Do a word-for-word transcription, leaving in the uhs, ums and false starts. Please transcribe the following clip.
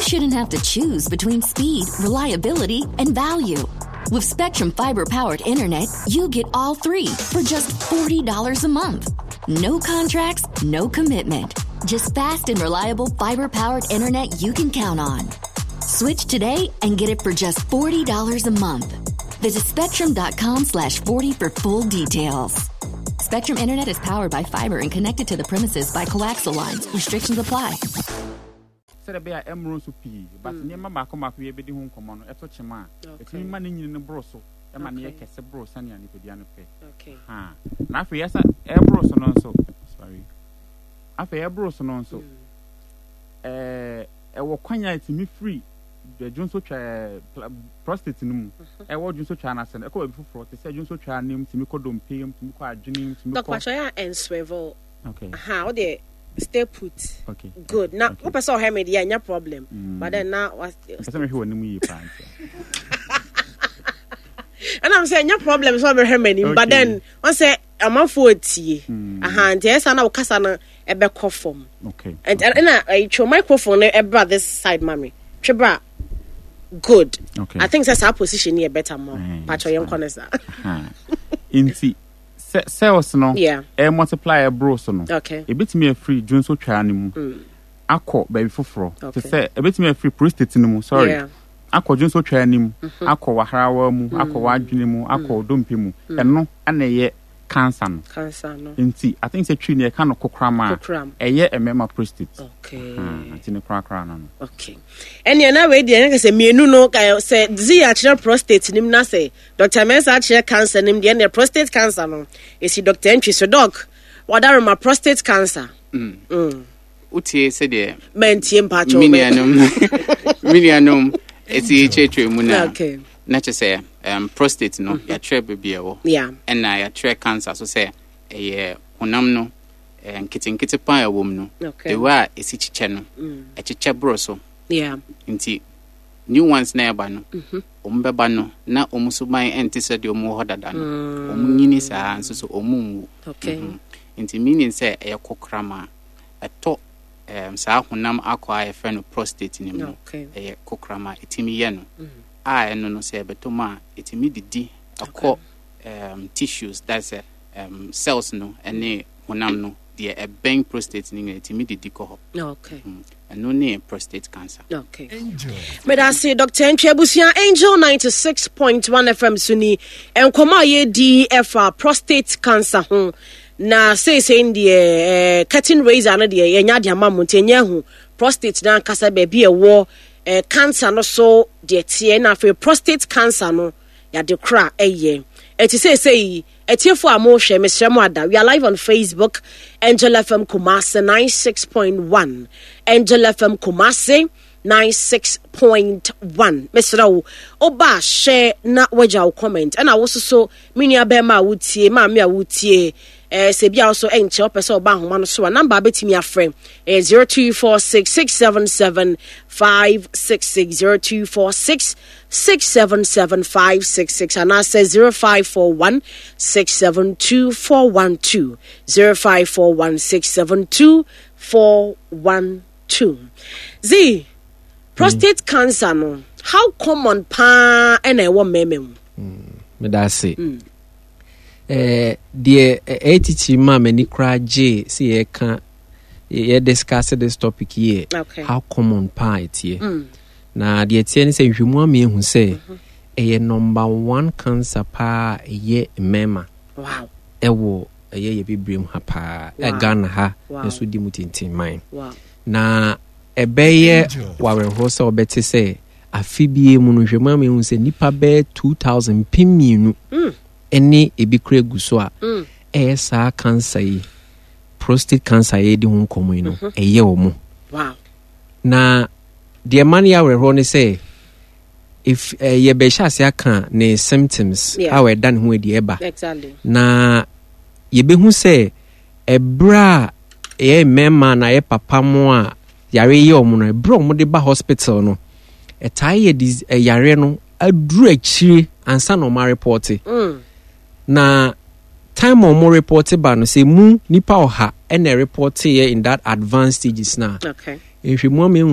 shouldn't have to choose between speed, reliability, and value. With Spectrum Fiber powered internet, you get all three for just forty dollars a month. No contracts, no commitment. Just fast and reliable fiber powered internet you can count on. Switch today and get it for just forty dollars a month. Visit spectrum dot com slash forty for full details. Spectrum Internet is powered by fiber and connected to the premises by coaxial lines. Restrictions apply. Sɛdeɛ ɛbɛyɛ a ɛmmoro nso pii, but nneɛma baako baako yɛ bɛdi ho nkɔmmɔ no, ɛto kyema a ɛtumi ma ne nyini no boro so, ɛma ne yɛ kɛse boro sɛnea nipadua no pɛ. Ha na afei yɛsa ɛboro so no nso, sorry, afei ɛboro so no nso, ɛɛ ɛwɔ kwan a ɛtumi firi dwonso twa ɛɛ prostate no mu, ɛwɔ dwonso twa n'ase no, ɛkɔ baabi foforɔ te sɛ dwonso twa ne mu, tumi kɔ dompe mu, tumi kɔ adwene mu, tumi Doc kɔ Pacho yɛ nswerve. Okay. Aha, wo deɛ stay put. Okay. Good. Na Okay. wopɛ sɛ ɔhwɛ me deɛ, ɛnyɛ problem. Mm. But then na wa Mpɛ sɛ mehwɛ w'anim yie paa nti. Ɛnam sɛ ɛnyɛ problem sɛ ɔbɛhwɛ m'anim, but Okay. then wɔn sɛ amanfoɔ tie. Mm. Aha, nti ɛyɛ saa na wo kasa no ɛbɛkɔ fam. Okay. And ɛna ɛyi twɛ microphone no ɛbra this side ma me. Twe bra. Good. Okay. I think sɛ saa position yɛ better mo. Mm, Pacho, yɛn kɔ ne saa. Ha. Nti sɛ cells no Yeah. ɛ multiply ɛboro so no, Okay. ebetumi afiri dwonso twaa no mu Mm. akɔ baabi foforɔ te Okay. sɛ ebetumi afiri prostate no mu, sorry, Yeah. akɔ dwonso twaa no mu, Mhm. akɔ waharawa mu, akɔ w'adwene mu, akɔ dompe mu. Ɛno ɛna ɛyɛ cancer no. Cancer no. Nti I think sɛ twi ne yɛka no kokoram a Kokoram. ɛyɛ mmarima prostate. Okay. Ha, nti ne korakora no no Okay. Ɛnea na wei deɛ ɛnyɛ sɛ mmienu no ka- sɛ zi akyerɛ prostate nim na sɛ Doctor Mensa akyerɛ cancer nim deɛ, ɛnea prostate cancer no esi Doctor Ntwi so. Doc, wadarema, prostate cancer. Mm. Mm. Wotie sɛdeɛ Mantie, mpakyɛw. me nuanom me nuanom ɛsi kyerɛkyerɛ mu no a, Okay. na kyerɛ sɛ um, prostate no, yɛatwerɛ baabi a ɛwɔ, Yeah. ɛna yɛatwerɛ cancer so sɛ ɛyɛ honam no eh, nketenkete paa a ɛwɔ mu no, Okay. the way a ɛsi kyekyɛ no, Mm. ɛkyekyɛ boro so. Yeah. Nti new ones na ɛba no, Mhm. ɔmo bɛba no na ɔmo so ban ɛnte sɛ deɛ ɔmo wɔ hɔ dada no. Mm. Ɔmo nyini saa nso so ɔmo nwu. Okay. Mhm. nti meaning sɛ ɛyɛ kokoram a ɛtɔ um, saa honam akɔ a yɛfrɛ no prostate no mu no. Okay. Ɛyɛ kokoram a ɛtumi yɛ no Mm. a ɛno no sɛ ɛbɛtɔ mu a, ɛtumi didi ɛkɔ um, tissues, that's uh, um, cells no ɛne honam no deɛ ɛbɛn prostate no nyinaa, ɛtumi didi kɔ hɔ. Okay. Mm. Ɛno ne prostate cancer. Okay. Medase, Doctor Ntwi. Abusua, Angel ninety-six point one F M so ni nkɔmmɔ a yɛdi ɛfa prostate cancer ho. Na seesei deɛ eh, curtain raiser no deɛ, yɛnya de ama mo, nti ɛnyɛ hu prostate no ankasa baabi a ɛwɔ, eh, cancer no so deɛ teɛ, na afei prostate cancer no yɛade kora ɛyɛ. Ɛti seesei ɛtiefo a mohwɛ, mesrɛ mo ada, we are live on Facebook, Angel F M Kumase ninety-six point one, Angel F M Kumase ninety-six point one. Mesrɛ wo, woba hyɛ na wagya wo comment, ɛna wo soso me nua bɛrima a wotie, maame a wotie, eh, sɛ bi a wo so ɛnkyɛ wopɛ sɛ ɔba ahoma no so a, number a bɛtumi afrɛ ɛyɛ zero two four six six seven seven five six six, zero two four six six seven seven five six six, anaasɛ zero five four one six seven two four one two, zero five four one six seven two four one two. Z prostate cancer no, how common paa ɛna ɛwɔ mmarima mu? Meda ase. Eh, deɛ ɛ- ɛyɛ titiri ma m'ani koraa gye sɛ yɛka yɛ discuss this topic yɛ Okay. how common paa ɛteɛ. Mm. Na deɛ ɛteɛ ne sɛ nhwɛmu ama ehu sɛ ɛyɛ number one cancer paa a ɛyɛ mmarima wow ɛwɔ ɛyɛ yɛ bebree mu ha paa Wow. ɛ Ghana ha Wow. nso di mu tintinman. Wow na ɛbɛyɛ wawerɛhoɔ sɛ wɔbɛte sɛ afe bie mu no, nhwɛmu ama ehu sɛ nipa bɛyɛ two thousand, mpem mmienu Mm. ɛne ebi kura gu so a Mm. ɛyɛ saa cancer yi, prostate cancer yɛdi ho nkɔmmɔ yi no, ɛyɛ wɔ mo. Wow na deɛ ma no yɛ awerɛhoɔ ne sɛ if eh, yɛbɛhyɛ ase aka ne symptoms Yeah. a ɛda ne ho adi ɛba exactly na yɛbɛhu sɛ ɛberɛ a ɛyɛ mmarima na ɛyɛ papa mo a yare yɛ ɔmo no, ɛberɛ a ɔmo de ba hospital no, ɛtaa yɛ dis ɛyare no aduru akyire ansa na ɔmo areport. mm. Na time a ɔmo report ba no, sɛ mu nipa ɔha ɛna report yɛ in that advanced stages na okay nhwɛmu ama ehu.